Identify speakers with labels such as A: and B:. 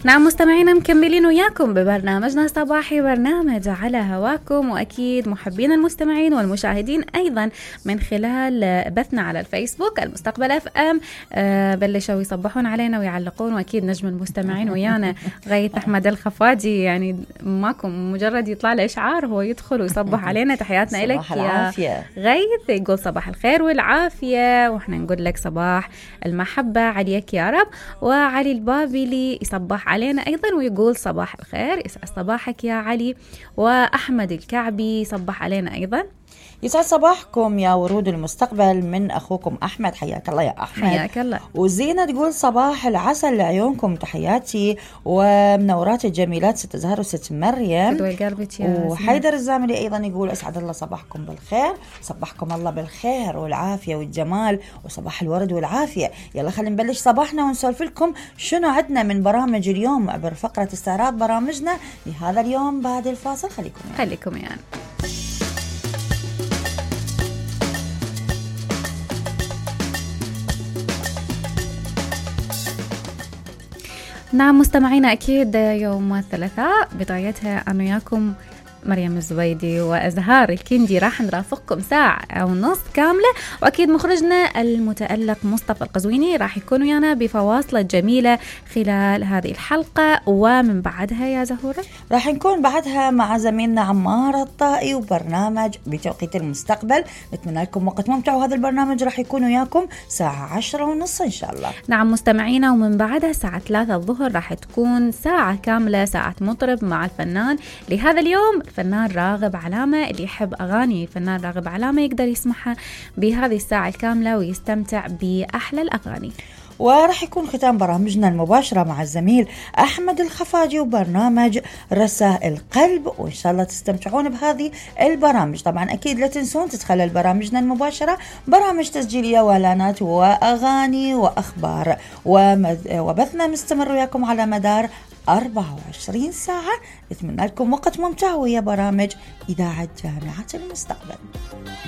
A: نعم مستمعينا مكملين وياكم ببرنامجنا الصباحي، برنامج على هواكم، وأكيد محبين المستمعين والمشاهدين أيضا من خلال بثنا على الفيسبوك المستقبل اف ام. بلشوا يصبحون علينا ويعلقون، وأكيد نجم المستمعين ويانا غيث أحمد الخفاجي، يعني ماكم مجرد يطلع له إشعار هو يدخل ويصبح علينا. تحياتنا لك يا غيث، يقول صباح الخير والعافية، وإحنا نقول لك صباح المحبة عليك يا رب. وعلي البابلي يصبح علينا أيضا ويقول صباح الخير، يسعد صباحك يا علي. وأحمد الكعبي يصبح علينا أيضا،
B: يسعد صباحكم يا ورود المستقبل من أخوكم أحمد. حياك الله يا أحمد.
A: حياك الله.
B: وزينة تقول صباح العسل لعيونكم، تحياتي ومنورات الجميلات ست زهر وست مريم. وحيدر الزاملي أيضا يقول أسعد الله صباحكم بالخير، صباحكم الله بالخير والعافية والجمال وصباح الورد والعافية. يلا خلينا نبلش صباحنا ونسولف لكم شنو عندنا من برامج اليوم عبر فقرة استعراض برامجنا لهذا اليوم بعد الفاصل. خليكم يعني.
A: نعم مستمعينا، أكيد يوم الثلاثاء بدايتها أنا وياكم مريم الزبيدي وأزهار الكندي راح نرافقكم ساعة ونص كاملة، وأكيد مخرجنا المتألق مصطفى القزويني راح يكون ويانا بفواصل جميلة خلال هذه الحلقة. ومن بعدها يا زهورة
B: راح نكون بعدها مع زميلنا عمار الطائي وبرنامج بتوقيت المستقبل. نتمنى لكم وقت ممتع، وهذا البرنامج راح يكون وياكم ساعة 10:30 إن شاء الله.
A: نعم مستمعينا، ومن بعدها الساعة 3 الظهر راح تكون ساعة كاملة ساعة مطرب مع الفنان لهذا اليوم الفنان راغب علامة. اللي يحب أغاني الفنان راغب علامة يقدر يسمعها بهذه الساعة الكاملة ويستمتع بأحلى الأغاني.
B: وراح يكون ختام برامجنا المباشرة مع الزميل أحمد الخفاجي وبرنامج رسائل قلب، وإن شاء الله تستمتعون بهذه البرامج. طبعا أكيد لا تنسون تتخلل برامجنا المباشرة برامج تسجيلية وإعلانات وأغاني وأخبار، وبثنا مستمر وياكم على مدار 24 ساعة. نتمنى لكم وقت ممتع ويا برامج إذاعة جامعة المستقبل.